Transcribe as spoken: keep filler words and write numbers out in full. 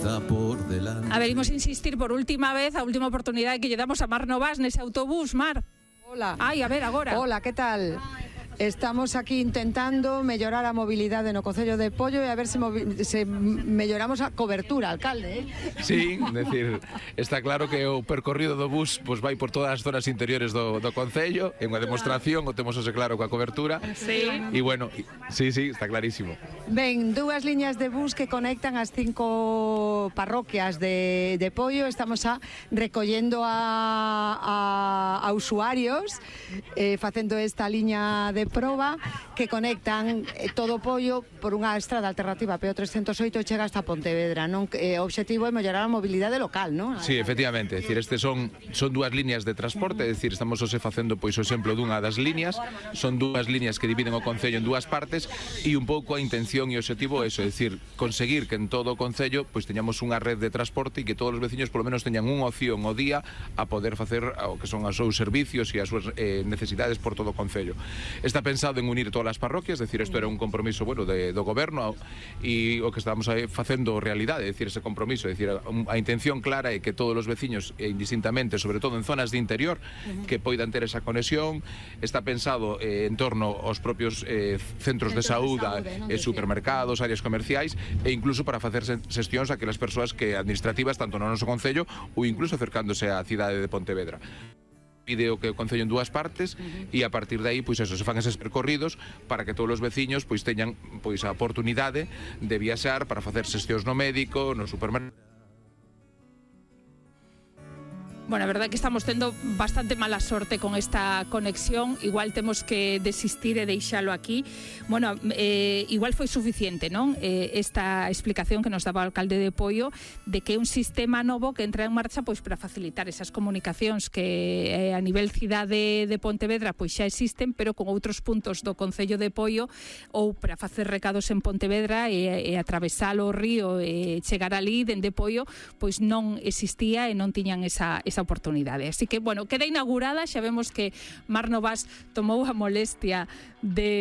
está por delante. A ver, imos insistir por última vez, a última oportunidade que lle damos a Mar Novas nese autobús, Mar. Hola. Ai, a ver, agora. Hola, que tal? Estamos aquí intentando mellorar a mobilidade no Concello de Poio e a ver se, se melloramos a cobertura, alcalde, eh? Sí, decir, está claro que o percorrido do bus pues, vai por todas as zonas interiores do, do Concello, é unha demostración, o temos ose claro coa cobertura. Sí. E bueno, sí, sí, está clarísimo. Ben, dúas liñas de bus que conectan as cinco parroquias de, de Poio. Estamos a recollendo a, a, a usuarios eh, facendo esta liña de proba que conectan eh, todo Poio por unha estrada alternativa P O trescentos oito e chega hasta Pontevedra, non? Eh, o obxectivo é mellorar a mobilidade local, non? Sí, efectivamente, é dicir, estes son son dúas liñas de transporte, é dicir, estamos ose facendo pois o exemplo dunha das liñas, son dúas liñas que dividen o Concello en dúas partes e un pouco a intención e o obxectivo é iso, é dicir, conseguir que en todo o Concello pois teñamos unha red de transporte e que todos os veciños polo menos teñan unha opción ao día a poder facer o que son os seus servicios e as súas eh, necesidades por todo o Concello. Está pensado en unir todas as parroquias, é dicir, isto era un compromiso, bueno, de, do goberno e o que estamos aí facendo realidade, é dicir, ese compromiso, é dicir, a, a intención clara é que todos os veciños, eh, indistintamente, sobre todo en zonas de interior, uh-huh. que poidan ter esa conexión. Está pensado eh, en torno aos propios eh, centros de saúde, e eh, supermercados, áreas comerciais e incluso para facer xestións a aquelas persoas que administrativas, tanto no noso Concello ou incluso acercándose á cidade de Pontevedra. Pide o que o Concello en dúas partes uh-huh. e a partir de aí, pois eso, se fan eses percorridos para que todos os veciños pois teñan pois a oportunidade de viaxar para facer xestións no médico, no supermercado. Bueno, a verdade é que estamos tendo bastante mala sorte con esta conexión. Igual temos que desistir e deixalo aquí. Bueno, eh, igual foi suficiente, non? Eh, esta explicación que nos daba o alcalde de Poio de que é un sistema novo que entra en marcha pois para facilitar esas comunicacións que eh, a nivel cidade de Pontevedra pois xa existen, pero con outros puntos do Concello de Poio, ou para facer recados en Pontevedra e, e atravesar o río e chegar ali dende Poio, pois non existía e non tiñan esa, esa oportunidade. Así que, bueno, queda inaugurada, xa vemos que Mar Novas tomou a molestia de